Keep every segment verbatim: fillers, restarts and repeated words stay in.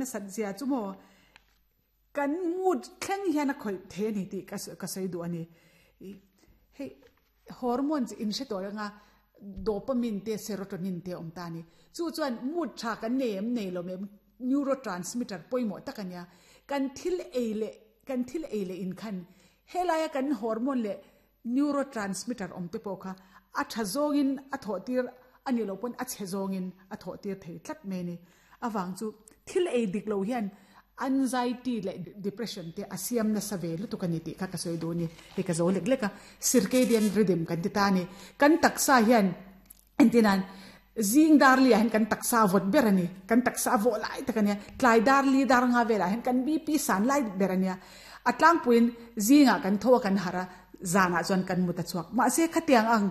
nasat zia chu maw kan mood thleng hian a khawih thei a ni tih ka ka sawi duh a ni. Hei hormones in hre tawh anga dopamine te serotonin te awm ta a ni. Chu chuan mood tha kan nei em nei lo em neurotransmitter pawimawh tak a nia. Kan thil ei leh kan thil ei leh in khan helaia kan hormone leh neurotransmitter awm te pawh kha a tha zawngin a thawh tir a ni lo pawn a chhe zawngin a thawh tir thei tlat mai a ni. Avang chu thil ei dik lo hian anxiety leh depression te a siam nasa ve lutuk a ni tih kha ka sawi duh a ni. Hei ka zo lek lek a, circadian rhythm kan ti ta a ni. Kan taksa hian engtinan zing dar li ah hian kan taksa a vawt ber a ni. Kan taksa a vawh lai tak a nia. Tlai dar li dar nga velah hian kan B P san lai ber a nia. A tlangpuiin zingah kan tho a kan harh a, zanah chuan kan mut a chhuak. Mahse khatiang ang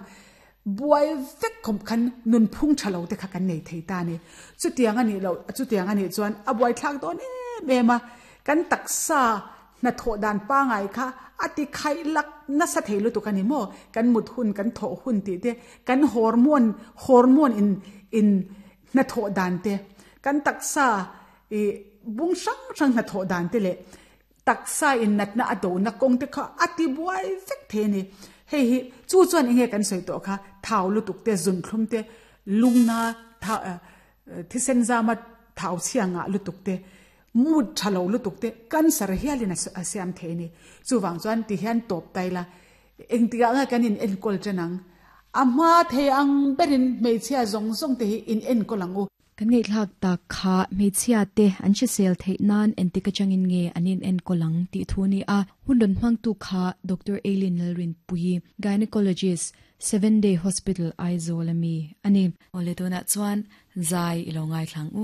buai vek khawp khan nunphung tha lo te kha kan nei thei ta a ni. Chutiang a nih loh, chutiang a nih chuan a buai thlak dawn em em a. Kan taksa hnathawh dan pangai kha a ti khaih lak nasa thei lutuk a ni maw? Kan mut hun, kan thawh hun tih te, kan hormone, hormone in in hnathawh dan te, kan taksa ih bung hrang hrang hnathawh dan te leh taksa in natna a dona kawng te kha a ti buai vek thei a ni. Hei hi chu chuan enge kan sawi tawh kha thau lutuk te, zunthlum te, lungna thau thisen zama thau chhia ngah lutuk te, mood tha lo lutuk te, cancer hialin a siam thei a ni. Chuvang chuan ti hian tawp tai la, engtikah nge kan in enkawl chen ang? A hma thei ang berin hmeichhia zawng zawng te hi in enkawl ang u. Kan ngaihthlak tak kha hmeichhia te an hrisel theih nan entik atangin nge an in enkawl ang tih thu a ni a. Hun rawn hmangtu kha Doctor Eileen Lalrinpuii, Gynecologist, Seven Day Hospital, Aizawl ami a ni. Awle tunah chuan zai i lo ngaithlang u.